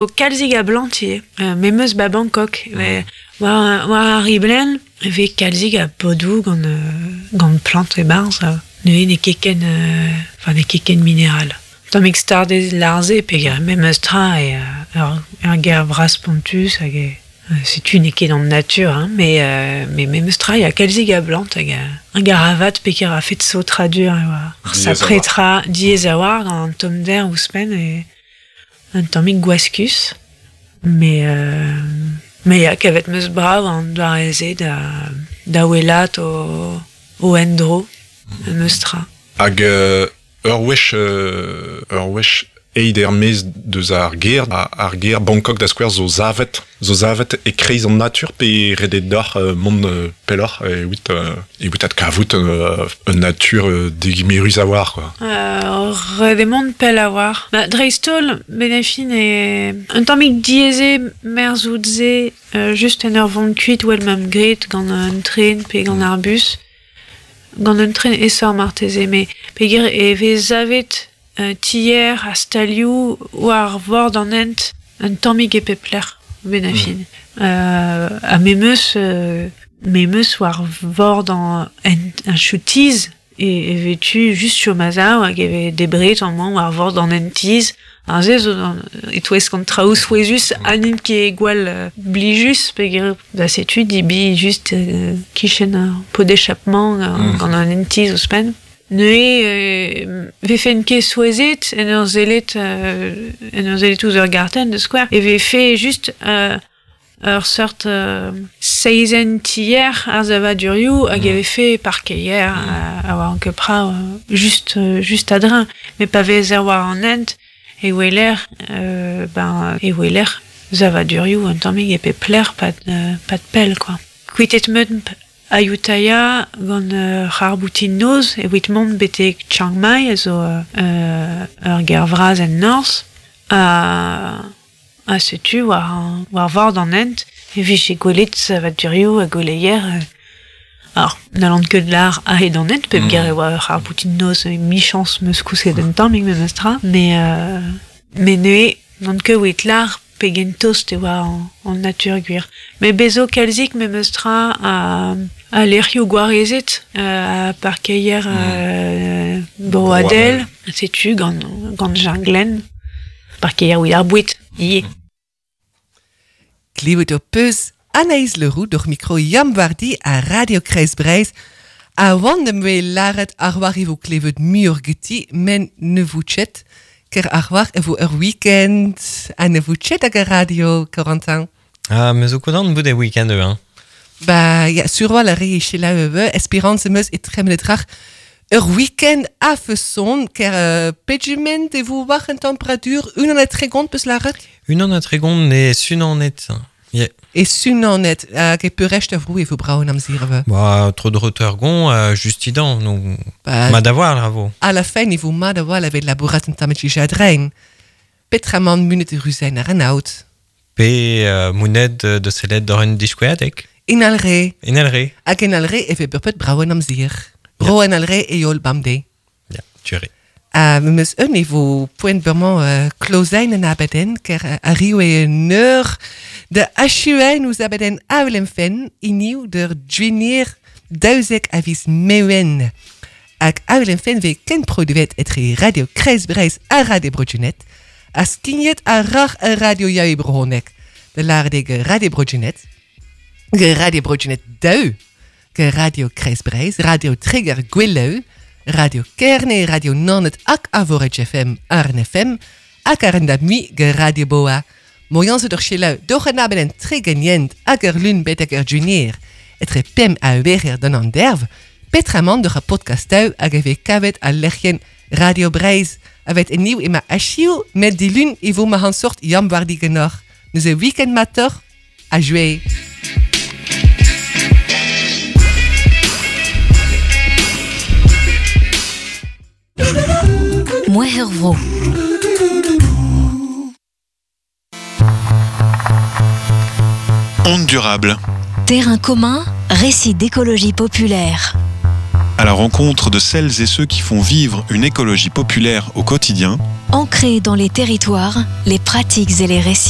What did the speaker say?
Kalzig a blant ivez, memes 'ba Bangkok. War, war ar riblenn e vez kalzig a podoù gant, gant plant e-barzh. Neuze n'eo ket ken, enfin n'eo ket ken mineral. Tammig stardez lâr-se peogwir memes tra eo ur, ur gêr vras-spontus hag e, setu n'eo ket an natur hein, mais, mais memes tra ya kalzig a blant hag hag arabat peogwir a-fet saotradur e oa. Sapre tra diaes a-walc'h gant an tommder ouzhpenn e Un tammig gwaskus, met me ya, kavet 'm eus brav an doare-se da da welat o o endro memes tra. Hag ur wech ur wech aet er-maez deus ar gêr, ar gêr Bangkok da skouer zo savet zo savet e-kreiz an natur pe ret eo deoc'h mont pelloc'h evit evit adkavout un natur degemerus a-walc'h quoi. Ret eo mont pell a-walc'h. Ba, dreist-holl, benn-ar-fin eo un tammig diaes eo merzout-se just en ur vont kuit well 'm graet gant un tren pe gant ar bus. Gant un tren aesoc'h marteze, met peogwir e vez savet tier ha stalioù war vord an hent un tammig e pep lec'h benn-ar-fin. Ha me 'm eus me 'm eus war vord an hent un choutiz e vez tu just chom a-sav hag e vez debret amañ war vord an hent-tizh. Aze zo e-touesk an traoù souezhus ha n'int ket gwall blijus peogwir da setu debriñ just kichen ar pot d'échappement gant an hent-tizh ouzhpenn. Neuze vefen ket souezhet en ur sellet en ur sellet ouzh ur gartenn da skouer e vefe just ur seurt seizenn tier ar savadurioù hag e vefe parkeier a oa ket brav just just a-dreñv. Met pa vezer war an hent e weler ben e weler savadurioù un tammig e pep lec'h 'pad 'pad pell quoi. Kuitet 'meump Ayutthaya gant ur c'harr-boutin noz evit mont betek Chiang Mai a zo ur gêr vras en norzh. Ha setu war war vord an hent e vije gwelet savadurioù ha gouleier. Alors, n'hallan ket lâr a-hed an hent peogwir e oa ur c'harr-boutin noz emichañs 'm eus kousket un tammig memestra, met met neuze n'on ket evit lâr pegen tost e oa an natur gwir. Met bez zo kalzik memes tra a lec'hioù gwarezet, a parkeier broadel, setu gant gant janglenn, parkeier evit ar boued ivez. Klevet ho peus Anaïs Leroux doc'h mikro Yann Wardi a Radio Kreiz Breizh. A oan em boa lâret ar war e vo klevet muioc'h geti, men ne vo ket. Ker ar war e vo ur week-end ha ne vo ket hag ar radio, Corentin. Ah, me zo kontant bout e week-end hein. Ba, ya, sur a re e selaou Esperance em eus e tremenet rac'h ur week-end a-feson, ker pegement e vo war an temperatur unan ha 30 peus lâret? Unan ha 30 ne sunanet. Yeah. E sunanet, hag e peurrest ar vro e vo brav an amzer ivez. Ba, tro dro tergon, just idan, donc ba, mat a-walc'h a vo. A la fin e vo mat a-walc'h evit labourat un tamm adrein. Petra man munet ruzen ar an aod? Pe monet da sellet d'ur un diskoueadeg. In alre. In alre. Hag en alre e vez bepred brav an amzer. Bro en alre e yol bamde. Ya, tu Ha memes un e vo poent bremañ klozain an abadenn, ker arriv eo un eur da achuain ouzh abadenn Avel em fenn, hiniv d'ur gwinier 12 a viz Mewen. Hag Avel em fenn vez kenproduet etre Radio Kreiz Breizh ha Radio Bro-Gwened, ha skignet àr ar radio Yaou Brezhoneg, da lâret eo Radio Bro-Gwened, Radio Bro-Gwened daou. Radio Kreiz Breizh, Radio Treger Gweleù, Radio Kerne, Radio Naoned hag Arvorig FM, RNFM, hag ar da mui ge Radio Boa. Moian zo d'ur selaou doc'h an abadenn Tregenient hag ur lun betek ur junior. Etre pemp ha weher d'an anderv, petramant doc'h ar podcastoù hag e vez kavet al lec'hienn Radio Breizh. A vet en niv ema achiv, met dilun e vo ma sort Yann Wardi genoc'h. Neuze week-end matoc'h, ha jouer. Mouezh ur vro. Onde durable. Terrain commun, récit d'écologie populaire. À la rencontre de celles et ceux qui font vivre une écologie populaire au quotidien. Ancré dans les territoires, les pratiques et les récits.